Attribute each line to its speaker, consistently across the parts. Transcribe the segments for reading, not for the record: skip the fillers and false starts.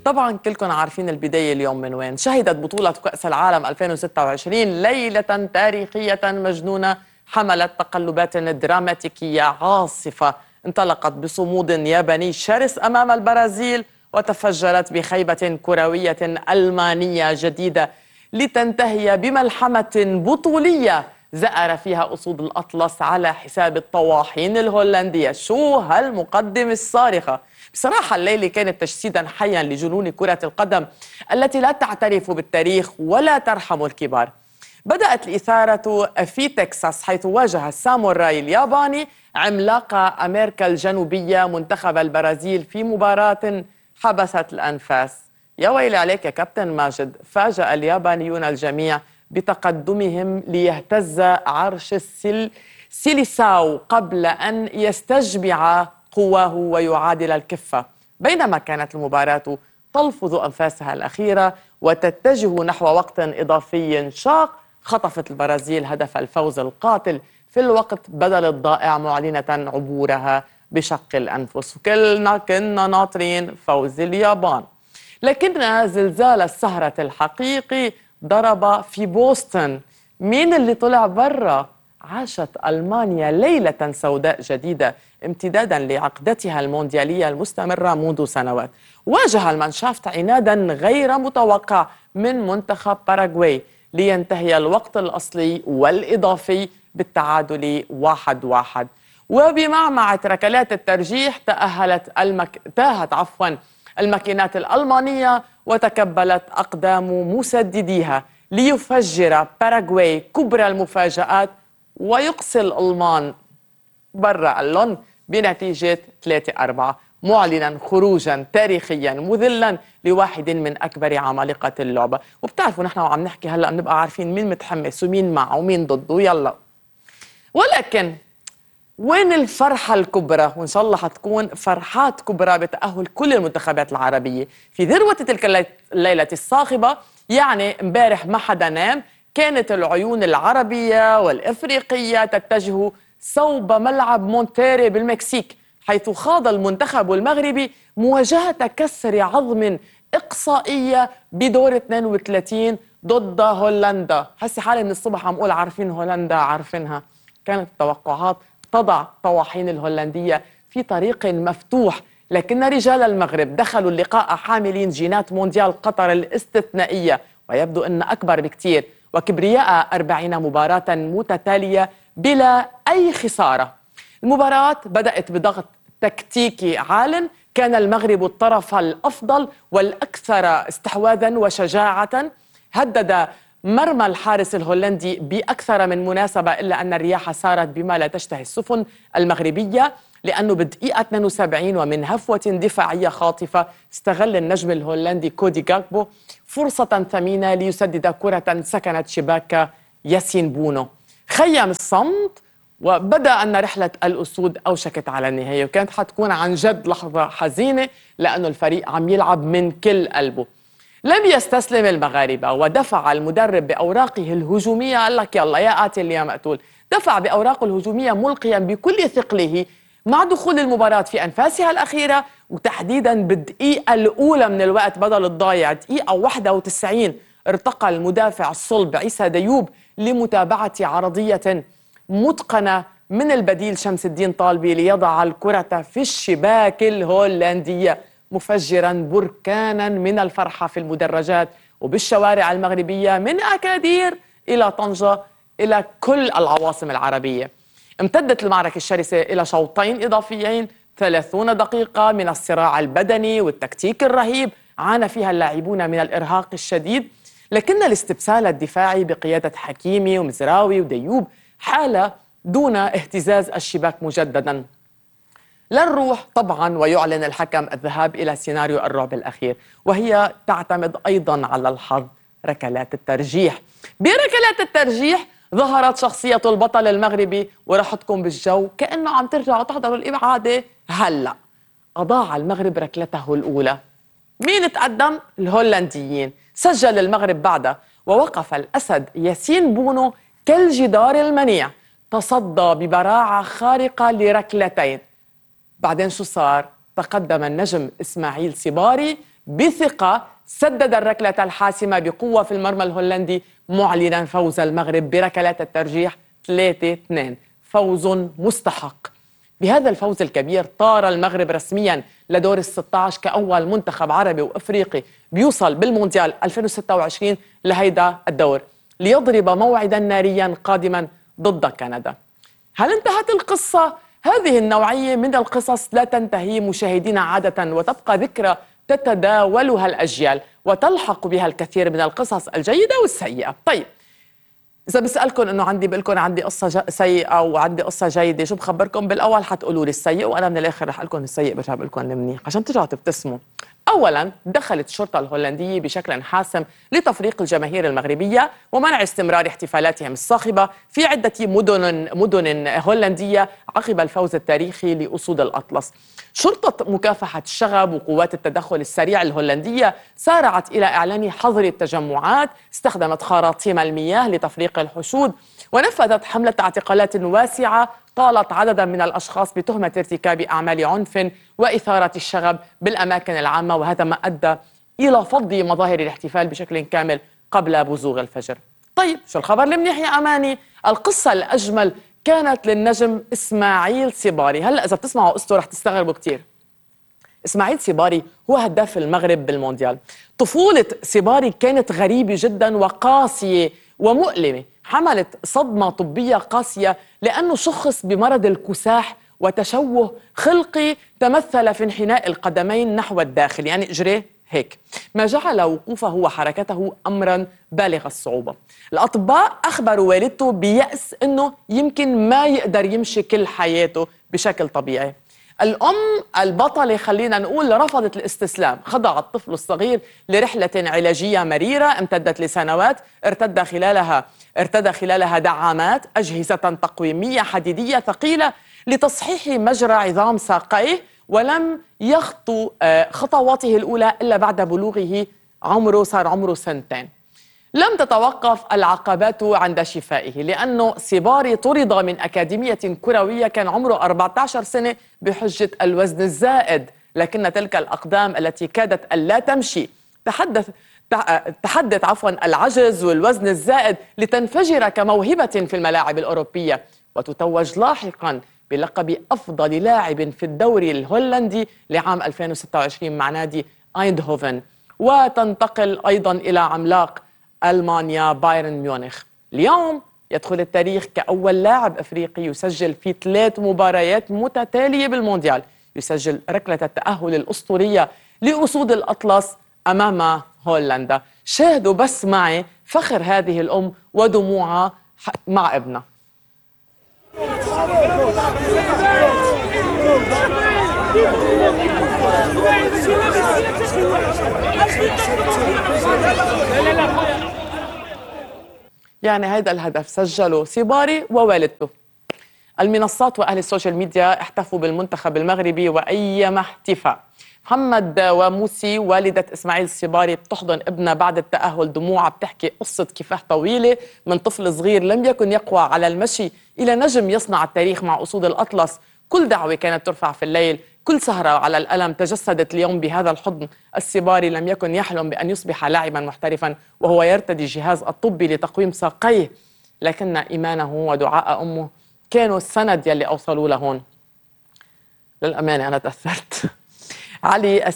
Speaker 1: طبعا كلكم عارفين البداية اليوم من وين. شهدت بطولة كأس العالم 2026 ليلة تاريخية مجنونة حملت تقلبات دراماتيكية عاصفة انطلقت بصمود ياباني شرس أمام البرازيل وتفجرت بخيبة كروية ألمانية جديدة لتنتهي بملحمة بطولية زأر فيها أسود الأطلس على حساب الطواحين الهولندية. شو هالمقدمة الصارخة! بصراحة الليلة كانت تجسيدا حيا لجنون كرة القدم التي لا تعترف بالتاريخ ولا ترحم الكبار. بدأت الإثارة في تكساس حيث واجه الساموراي الياباني عملاق أمريكا الجنوبية منتخب البرازيل في مباراة حبست الأنفاس. يا ويلي عليك يا كابتن ماجد، فاجأ اليابانيون الجميع بتقدمهم ليهتز عرش سيليساو قبل أن يستجمع قواه ويعادل الكفة. بينما كانت المباراة تلفظ أنفاسها الأخيرة وتتجه نحو وقت إضافي شاق، خطفت البرازيل هدف الفوز القاتل في الوقت بدل الضائع معلنة عبورها بشق الأنفس. وكلنا كنا ناطرين فوز اليابان، لكن زلزال السهرة الحقيقي ضرب في بوسطن. مين اللي طلع برا؟ عاشت ألمانيا ليلة سوداء جديدة امتدادا لعقدتها المونديالية المستمرة منذ سنوات. واجه المانشافت عنادا غير متوقع من منتخب باراغواي لينتهي الوقت الأصلي والإضافي بالتعادل 1-1. وبمعمعة ركلات الترجيح تاهت الماكينات الألمانية وتكبلت أقدام مسدديها ليفجر باراغواي كبرى المفاجآت ويقصي الألمان برا اللون بنتيجة 3-4، معلنا خروجا تاريخيا مذلا لواحد من أكبر عمالقة اللعبة. وبتعرفوا نحن وعم نحكي هلأ بنبقى عارفين مين متحمس ومين معه ومين ضده. يلا، ولكن وين الفرحة الكبرى؟ وإن شاء الله حتكون فرحات كبرى بتأهل كل المنتخبات العربية في ذروة تلك الليلة الصاخبة. يعني امبارح ما حدا نام، كانت العيون العربية والإفريقية تتجه صوب ملعب مونتيري بالمكسيك، حيث خاض المنتخب المغربي مواجهة كسر عظم إقصائية بدور 32 ضد هولندا. حسي حالي من الصبح عم أقول عارفين هولندا عارفينها. كانت التوقعات تضع طواحين الهولندية في طريق مفتوح، لكن رجال المغرب دخلوا اللقاء حاملين جينات مونديال قطر الاستثنائية ويبدو أن أكبر بكتير، وكبرياء 40 مباراة متتالية بلا أي خسارة. المباراة بدأت بضغط تكتيكي عال، كان المغرب الطرف الأفضل والأكثر استحواذا وشجاعة، هدد مرمى الحارس الهولندي بأكثر من مناسبة، إلا أن الرياح سارت بما لا تشتهي السفن المغربية، لأنه بدقيقة 72 ومن هفوة دفاعية خاطفة استغل النجم الهولندي كودي غاكبو فرصة ثمينة ليسدد كرة سكنت شباك ياسين بونو. خيم الصمت وبدأ أن رحلة الأسود أوشكت على النهاية، وكانت حتكون عن جد لحظة حزينة لأنه الفريق عم يلعب من كل قلبه. لم يستسلم المغاربة ودفع المدرب بأوراقه الهجومية، قال لك يلا يا قاتل يا مقتول، دفع بأوراقه الهجومية ملقيا بكل ثقله مع دخول المباراة في أنفاسها الأخيرة، وتحديدا بالدقيقة الأولى من الوقت بدل الضايع دقيقة 91 ارتقى المدافع الصلب عيسى ديوب لمتابعة عرضية متقنة من البديل شمس الدين طالبي ليضع الكرة في الشباك الهولندية، مفجرا بركانا من الفرحة في المدرجات وبالشوارع المغربية من أكادير إلى طنجة إلى كل العواصم العربية. امتدت المعركة الشرسة إلى شوطين إضافيين 30 دقيقة من الصراع البدني والتكتيك الرهيب عانى فيها اللاعبون من الإرهاق الشديد، لكن الاستبسال الدفاعي بقيادة حكيمي ومزراوي وديوب حال دون اهتزاز الشباك مجددا. لنروح طبعا ويعلن الحكم الذهاب إلى سيناريو الرعب الأخير، وهي تعتمد أيضا على الحظ، ركلات الترجيح. بركلات الترجيح ظهرت شخصية البطل المغربي ورحتكم بالجو كأنه عم ترجعوا تحضروا الإبعادة هلأ. أضاع المغرب ركلته الأولى. مين تقدم؟ الهولنديين. سجل المغرب بعدها ووقف الأسد ياسين بونو كالجدار المنيع، تصدى ببراعة خارقة لركلتين. بعدين شو صار؟ تقدم النجم إسماعيل سيباري بثقة سدد الركلة الحاسمة بقوة في المرمى الهولندي، معلنا فوز المغرب بركلات الترجيح 3-2. فوز مستحق. بهذا الفوز الكبير طار المغرب رسميا لدور ال16 كأول منتخب عربي وأفريقي بيوصل بالمونديال 2026 لهيدا الدور، ليضرب موعدا ناريا قادما ضد كندا. هل انتهت القصة؟ هذه النوعية من القصص لا تنتهي مشاهدينا عادة، وتبقى ذكرى تتداولها الأجيال وتلحق بها الكثير من القصص الجيدة والسيئة. طيب، إذا بسألكم إنه بقول لكم عندي قصة سيئة وعندي قصة جيدة، شو بخبركم؟ بالأول حتقولوا لي السيء، وأنا من الآخر رح أقول لكم السيء برجع بقول لكم المنيح عشان ترجعوا تبتسموا. أولاً، دخلت الشرطة الهولندية بشكل حاسم لتفريق الجماهير المغربية ومنع استمرار احتفالاتهم الصاخبة في عدة مدن هولندية عقب الفوز التاريخي لأسود الأطلس. شرطة مكافحة الشغب وقوات التدخل السريع الهولندية سارعت إلى إعلان حظر التجمعات، استخدمت خراطيم المياه لتفريق الحشود، ونفذت حملة اعتقالات واسعة طالت عددا من الأشخاص بتهمة ارتكاب أعمال عنف وإثارة الشغب بالأماكن العامة، وهذا ما أدى إلى فض مظاهر الاحتفال بشكل كامل قبل بزوغ الفجر. طيب، شو الخبر المنيح يا أماني؟ القصة الأجمل كانت للنجم إسماعيل سيباري. هلأ إذا بتسمعوا قصته رح تستغربوا كتير. إسماعيل سيباري هو هداف المغرب بالمونديال. طفولة سيباري كانت غريبة جدا وقاسية ومؤلمة، حملت صدمة طبية قاسية لأنه شخص بمرض الكساح وتشوه خلقي تمثل في انحناء القدمين نحو الداخل، يعني إجريه هيك، ما جعل وقوفه وحركته أمرا بالغ الصعوبة. الأطباء أخبروا والدته بيأس أنه يمكن ما يقدر يمشي كل حياته بشكل طبيعي. الأم البطلة خلينا نقول رفضت الاستسلام، خضع الطفل الصغير لرحلة علاجية مريرة امتدت لسنوات، ارتدى خلالها دعامات، أجهزة تقويمية حديدية ثقيلة لتصحيح مجرى عظام ساقيه، ولم يخطو خطواته الأولى إلا بعد بلوغه صار عمره 2 سنين. لم تتوقف العقبات عند شفائه، لأنه سيباري طرد من أكاديمية كروية كان عمره 14 سنة بحجة الوزن الزائد، لكن تلك الأقدام التي كادت ألا تمشي تحدت العجز والوزن الزائد لتنفجر كموهبة في الملاعب الأوروبية، وتتوج لاحقاً بلقب أفضل لاعب في الدوري الهولندي لعام 2026 مع نادي أيندهوفن، وتنتقل أيضاً إلى عملاق ألمانيا بايرن ميونخ. اليوم يدخل التاريخ كأول لاعب أفريقي يسجل في 3 مباريات متتالية بالمونديال، يسجل ركلة التأهل الأسطورية لأسود الأطلس أمام هولندا. شاهدوا بس معي فخر هذه الأم ودموعها مع ابنها. يعني هذا الهدف سجله سيباري ووالدته. المنصات وأهل السوشيال ميديا احتفوا بالمنتخب المغربي وأيما احتفاء. محمد وموسي والدة إسماعيل سيباري بتحضن ابنها بعد التأهل، دموعها بتحكي قصة كفاح طويلة من طفل صغير لم يكن يقوى على المشي إلى نجم يصنع التاريخ مع أسود الأطلس. كل دعوة كانت ترفع في الليل، كل سهرة على الألم تجسدت اليوم بهذا الحضن. السيباري لم يكن يحلم بأن يصبح لاعبا محترفا وهو يرتدي جهاز الطبي لتقويم ساقيه، لكن إيمانه ودعاء أمه كانوا السند يلي أوصلوا لهون. للأمانة أنا تأثرت. علي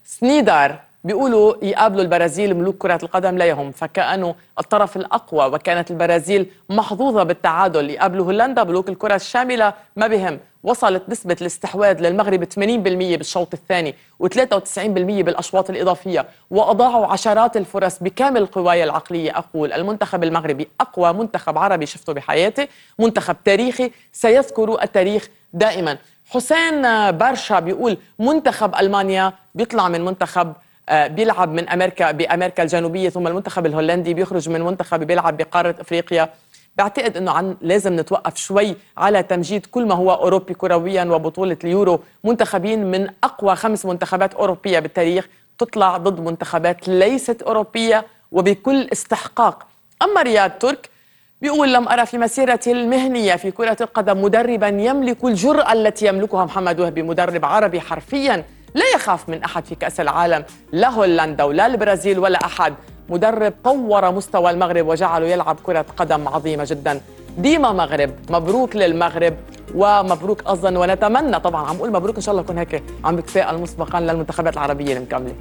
Speaker 1: السنيدار بيقولوا يقابلوا البرازيل ملوك كرة القدم لا يهم، فكأنه الطرف الأقوى، وكانت البرازيل محظوظة بالتعادل. يقابلوا هولندا ملوك الكرة الشاملة ما بهم. وصلت نسبة الاستحواذ للمغرب 80% بالشوط الثاني و93% بالأشواط الإضافية، وأضاعوا عشرات الفرص بكامل قواي العقلية. أقول المنتخب المغربي أقوى منتخب عربي شفته بحياتي، منتخب تاريخي سيذكر التاريخ دائما. حسين برشا بيقول منتخب ألمانيا بيطلع من منتخب بيلعب من بأمريكا الجنوبية، ثم المنتخب الهولندي بيخرج من منتخب بيلعب بقارة أفريقيا. بعتقد أنه لازم نتوقف شوي على تمجيد كل ما هو أوروبي كرويا وبطولة اليورو. منتخبين من أقوى 5 منتخبات أوروبية بالتاريخ تطلع ضد منتخبات ليست أوروبية وبكل استحقاق. أما رياض ترك بيقول لم أرى في مسيرتي المهنية في كرة القدم مدربا يملك الجرأة التي يملكها محمد وهبي، مدرب عربي حرفيا لا يخاف من أحد في كأس العالم، لا هولندا ولا البرازيل ولا أحد. مدرب طور مستوى المغرب وجعله يلعب كرة قدم عظيمة جدا. ديما مغرب، مبروك للمغرب ومبروك أيضا، ونتمنى طبعا، عم أقول مبروك إن شاء الله يكون هيك عم بتفائل مسبقا للمنتخبات العربية المكملة.